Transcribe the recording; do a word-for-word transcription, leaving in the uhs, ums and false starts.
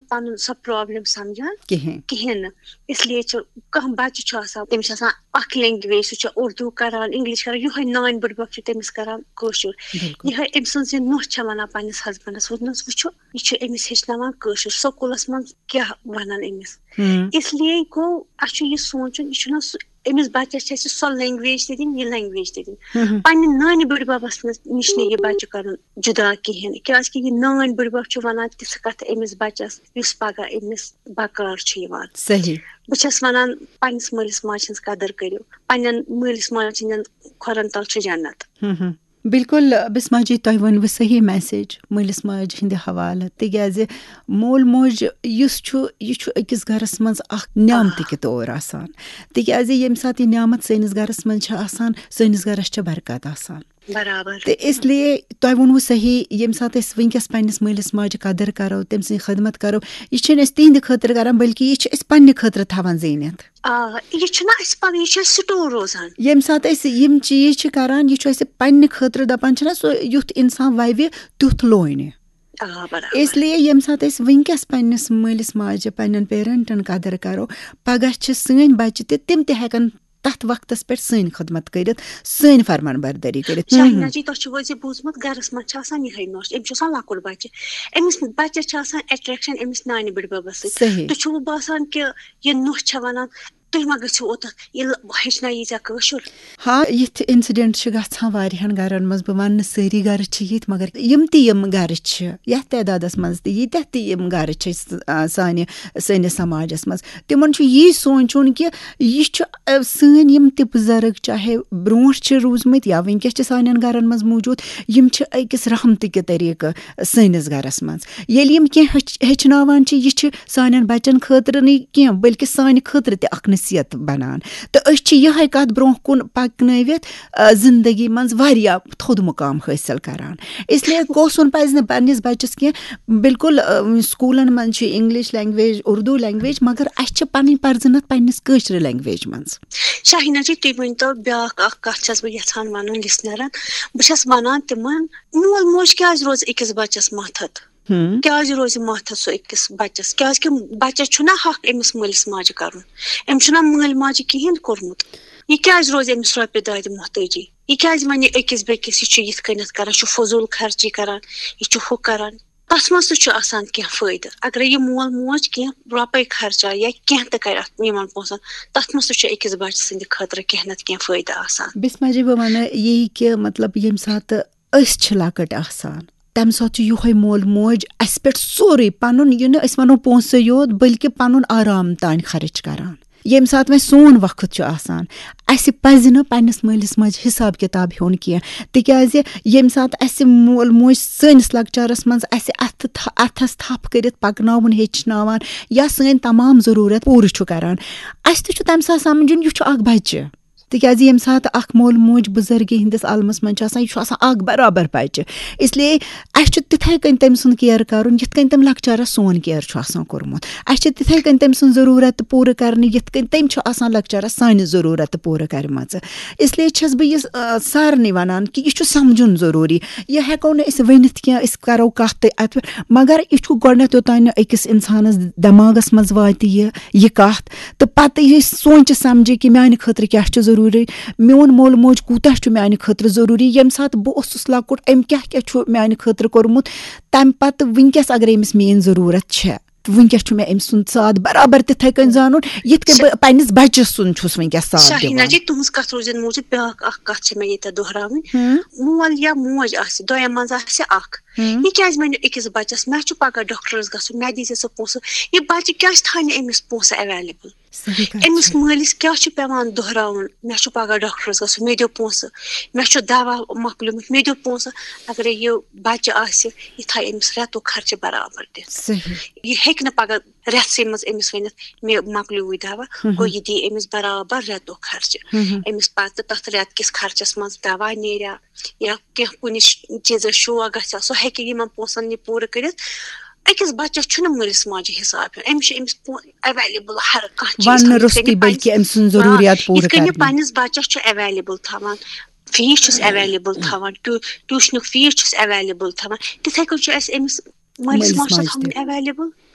پَنُن سۄ پرابلم سمجھان کِہیٖنۍ۔ کِہیٖنۍ نہٕ۔ اس لیے چھُ کانٛہہ بچہِ چھُ آسان، تٔمِس چھِ آسان اکھ لینگویج، سُہ چھُ اردو کران، انگلش کران، یِہوٚے نانۍ بٕڈبب چھُ تٔمِس کران کٲشُر۔ بِلکُل۔ یِہوٚے أمۍ سٕنٛز یہِ نۄش چھےٚ وَنان پننِس ہسبنڈس، ووٚنمَس، وٕچھِو، یہِ چھُ أمِس ہیٚچھناوان کٲشُر، سکوٗلس منٛز کیٛاہ وَنان أمِس؟ ہم۔ اس لیے گوٚو اَسہِ چھُ یہِ سونٛچُن، یہِ چھُنہ سُہ، أمِس بچس چھِ اَسہِ سۄ لینگویج تہِ دِنۍ، یہِ لینگویج تہِ دِنۍ۔ ہم۔ پننہِ نانہِ بٕڈببس نِش نہٕ یہِ بچہِ کرُن جدا کِہیٖنۍ، کیازِ کہِ یہِ نانۍ بٕڈبب چھُ وَنان تِژھ کَتھٕ أمِس بچس، یُس پگاہ أمِس بکار چھُ یِوان۔ صحیح۔ بہٕ چھَس وَنان، پننِس مٲلِس ماجہِ ہٕنٛز قدٕر کٔرِو، پننٮ۪ن مٲلِس ماجہِ ہٕنٛدٮ۪ن کھۄرن تل چھُ جنت۔ ہم ہم۔ بِلکُل، بسما جی، تۄہہِ ؤنوٕ صحیح میسیج مٲلِس ماجہِ ہٕنٛدِ حوالہٕ، تِکیازِ مول موج یُس چھُ، یہِ چھُ أکِس گرس منٛز اکھ نعمتہٕ کہِ طور آسان، تِکیازِ ییٚمہِ ساتہٕ یہِ نعمت سٲنِس گرس منٛز چھِ آسان، سٲنِس گرس چھِ برکت آسان۔ برابر۔ تہٕ اس لیے تۄہہِ ووٚنوٕ صحیح، ییٚمہِ ساتہٕ أسۍ وٕنکیٚس پننِس مٲلِس ماجہِ قدٕر کرو، تٔمۍ سٕنٛز خدمت کرو، یہِ چھِنہٕ أسۍ تِہنٛدِ خٲطرٕ کران، بلکہِ یہِ چھِ أسۍ پننہِ خٲطرٕ تھاوان زیٖنِتھ۔ آ، یہِ چھُنہ اَسہِ پَنُن، یہِ چھُ اَسہِ سٹور روزان۔ ییٚمہِ ساتہٕ أسۍ یِم چیٖز چھِ کران، یہِ چھُ اَسہِ پننہِ خٲطرٕ، دَپان چھِنہ، سُہ یُتھ اِنسان وَوِ، تیُتھ لونہِ۔ آ، برابر۔ اس لیے ییٚمہِ ساتہٕ أسۍ وٕنکیٚس پننِس مٲلِس ماجہِ، پننٮ۪ن پیرنٹن قدٕر کرو، پگاہ چھِ سٲنۍ بچہِ تہِ، تِم تہِ ہٮ۪کن تتھ وقتس پٮ۪ٹھ سٲنۍ خدمت کٔرِتھ، سٲنۍ فرمان بردٲری کٔرِتھ۔ شاہینا جی، تۄہہِ چھُو حظ یہِ بوٗزمُت، گرس منٛز چھِ آسان یِہے نۄش، أمِس چھُ آسان لۄکُٹ بچہِ، أمِس بچس چھِ آسان اٹریکشن أمِس نانہِ بٕڈببس سۭتۍ۔ صحیح۔ تُہۍ چھُو باسان کہِ یہِ نۄش چھےٚ ونان، تُہۍ ما گٔژھِو اوٚتتھ، یہِ ہیٚچھناوی ژےٚ کٲشُر؟ ہاں، یِتھ انسیڈنٹ چھِ گژھان واریاہن گرن منٛز۔ بہٕ وننہٕ سٲری گرٕ چھِ یِتھۍ، مگر یِم تہِ یِم گرٕ چھِ، یتھ تعدادس منٛز تہِ ییٖتیٛاہ تہِ یِم گرٕ چھِ س-، آ، سانہِ، سٲنِس سماجس منٛز، تِمن چھُ یی سونٛچُن کہِ یہِ چھُ، آ، سٲنۍ یِم تہِ بُزرگ، چاہے برونٛٹھ چھِ روٗزمٕتۍ یا وٕنکیٚس چھِ سانٮ۪ن گرن منٛز موٗجوٗد، یِم چھِ أکِس رحمتہٕ کہِ طریٖقہٕ سٲنِس گرس منٛز۔ ییٚلہِ یِم کینٛہہ ہیٚچھ-، ہیٚچھناوان چھِ، یہِ چھِ سانٮ۪ن بچن خٲطرٕ نہٕ کینٛہہ، بلکہِ سانہِ خٲطرٕ تہِ اکھ نصیحت بنان۔ تہٕ أسۍ چھِ یِہے کتھ برونٛہہ کُن پکنٲوِتھ، آ، زندگی منٛز واریاہ تھوٚد مقام حٲصِل کران۔ اس لیے کوسُن پزِ نہٕ پننِس بچس کینٛہہ۔ بِلکُل، آ، سکوٗلن منٛز چھِ انگلش لینگویج، اردو لینگویج، مگر اسہِ چھِ پنٕنۍ پرزٕنتھ پننِس کٲشرِ لینگویج منٛز۔ شاہینا جی، تُہۍ ؤنۍ تو، بیٛاکھ اکھ کتھ چھَس بہٕ یژھان ونُن لسنرن۔ بہٕ چھَس ونان تِمن، مول موج کیٛازِ روزِ أکِس بچس ماتھت؟ ہم۔ کیٛازِ روزِ ماتھت سُہ أکِس بچس؟ کیٛازِ کہِ بچس چھُنہ حق أمِس مٲلِس ماجہِ کرُن، أمِس چھُنہ مٲلۍ ماجہِ کِہیٖنۍ کوٚرمُت۔ یہِ کیٛازِ روزِ أمِس رۄپیہِ دادِ محتٲجی؟ یہِ کیٛازِ ونہِ أکِس بیٚکِس، یہِ چھُ یِتھ کٔنٮ۪تھ کران، چھُ فضوٗل خرچی کران، یہِ چھُ ہُہ کران؟ تتھ منٛز تہِ چھُ آسان کینٛہہ فٲیدٕ۔ اگرے یہِ مول موج کینٛہہ رۄپے خرچاو یا کینٛہہ تہِ کرِ اتھ یِمن پونٛسن، تتھ منٛز تہِ چھُ أکِس بچہٕ سٕنٛدِ خٲطرٕ کینٛہہ نتہٕ کینٛہہ فٲیدٕ آسان۔ بسما جی، بہٕ ونہٕ یی کہِ مطلب ییٚمہِ ساتہٕ أسۍ چھِ لۄکٕٹۍ آسان، تمہِ ساتہٕ چھُ یِہوے مول موج اسہِ پٮ۪ٹھ سورُے پنُن، یہِ نہٕ أسۍ ونو پونٛسہٕ یوت، بلکہِ پنُن آرام تام خرٕچ کران۔ ییٚمہِ ساتہٕ وۄنۍ سون وقت چھُ آسان، اسہِ پزِ نہٕ پننِس مٲلِس ماجہِ حساب کتاب ہیوٚن کینٛہہ، تِکیازِ ییٚمہِ ساتہٕ اسہِ مول موج سٲنِس لۄکچارس منٛز اسہِ اتھٕ تھ-، اتھس تھپھ کٔرِتھ پکناوُن ہیٚچھناوان یا سٲنۍ تمام ضروٗرت پوٗرٕ چھُ کران، اسہِ تہِ چھُ تمہِ ساتہٕ سمجھُن، یہِ چھُ اکھ بچہِ۔ تِکیازِ ییٚمہِ ساتہٕ اکھ مول موج بُزرگی ہٕنٛدِس عالمس منٛز چھُ آسان، یہِ چھُ آسان اکھ برابر بچہِ۔ اس لیے اسہِ چھُ تِتھے کٔنۍ تٔمۍ سُنٛد کیئر کرُن، یِتھ کٔنۍ تٔمۍ لۄکچارس سون کیئر چھُ آسان کوٚرمُت۔ اسہِ چھِ تِتھے کٔنۍ تٔمۍ سُنٛد ضروٗرت تہٕ پوٗرٕ کرنہِ، یِتھ کٔنۍ تٔمۍ چھُ آسان لۄکچارس سانہِ ضروٗرت تہٕ پوٗرٕ کرِمژٕ۔ اس لیے چھَس بہٕ یہِ، آ، سارنٕے ونان کہِ یہِ چھُ سمجھُن ضروٗری۔ یہِ ہٮ۪کو نہٕ أسۍ ؤنِتھ کینٛہہ، أسۍ کرو کتھ تہِ اتھ پٮ۪ٹھ، مگر یہِ چھُ گۄڈٕنٮ۪تھ یوٚتام نہٕ أکِس انسانس دٮ۪ماغس منٛز واتہِ یہِ، یہِ کتھ، تہٕ پتہٕ یہِ سونچہِ سمجھِ کہِ میانہِ خٲطرٕ کیٛاہ چھُ ضروٗری، میون مول موج کوٗتاہ چھُ میانہِ خٲطرٕ ضروٗری، ییٚمہِ ساتہٕ بہٕ اوسُس لۄکُٹ، أمۍ کیٛاہ کیٛاہ چھُ میانہِ خٲطرٕ کوٚرمُت، تمہِ پتہٕ وٕنکیٚس اگرے أمِس میٲنۍ ضروٗرت چھےٚ، تہٕ وٕنکیٚس چھُ مےٚ أمۍ سُنٛد ساتھ برابر تِتھے کٔنۍ زانُن، یِتھ کٔنۍ بہٕ پننِس بچس سُنٛد چھُس وٕنکیٚس ساتھ شاہیٖنا دِوان۔ جی، تُہٕنٛز کتھ روٗزِن موٗجوٗب بیٛاکھ اکھ کتھ چھِ مےٚ ییٚتٮ۪تھ دۄہراوٕنۍ۔ ہم۔ مول یا موج آسہِ، دۄیو منٛز آسہِ اکھ۔ ہم۔ یہِ کیٛازِ ونہِ أکِس بچس، مےٚ چھُ پگاہ ڈاکٹرس گژھُن، مےٚ دیٖزِ ژٕ پونٛسہٕ؟ یہِ بچہِ کیٛازِ تھاونہِ أمِس پونٛسہٕ اویلیبل؟ صحیح کتھ أمِس چھِ۔ مٲلِس کیٛاہ چھُ پٮ۪وان دۄہراوُن؟ مےٚ چھُ پگاہ ڈاکٹرس گژھُن، مےٚ دِیِو پونٛسہٕ، مےٚ چھُ دوا مۄکلیومُت، مےٚ دِیِو پونٛسہٕ۔ اگرے یہِ بچہِ آسہِ، یہِ تھایہِ أمِس رٮ۪تُک خرچہٕ برابر دِتھ۔ صحیح۔ یہِ ہیٚکہِ نہٕ پگاہ رٮ۪تسٕے منٛز أمِس ؤنِتھ، مےٚ مۄکلیووٕے دوا، ہم۔ گوٚو یہِ دِیہِ أمِس برابر رٮ۪تُک خرچہٕ۔ ہم۔ أمِس پتہٕ تتھ رٮ۪تہٕ کِس خرچس منٛز دوا نیریا یا کینٛہہ کُنہِ ش-، چیٖزس شوق گژھِ ہا، سُہ ہیٚکہِ یِمن پونٛسن یہِ پوٗرٕ کٔرِتھ۔ أکِس بچس چھُنہٕ مٲلِس ماجہِ حساب ہیوٚن، أمِس چھُ أمِس پو-، اویلیبل ہر کانٛہہ چیٖز وننہٕ تھاوُن۔ یِتھ روٚستُے کٔنۍ یہِ بلکہِ پننِس، أمۍ سُنٛد آ، ضروٗریات پوٗرٕ یِتھ کٔنۍ یہِ کرنہٕ۔ پننِس بچس چھُ اویلیبل تھاوان، فیٖس چھُس اویلیبل تھاوان، ٹیو-، ٹیوٗشنُک فیٖس چھُس اویلیبل تھاوان، تِتھے کٔنۍ چھُ اَسہِ أمِس مٲلِس مٲلِس ماجہِ ماجہِ تھاوُن تہِ۔ اویلیبل۔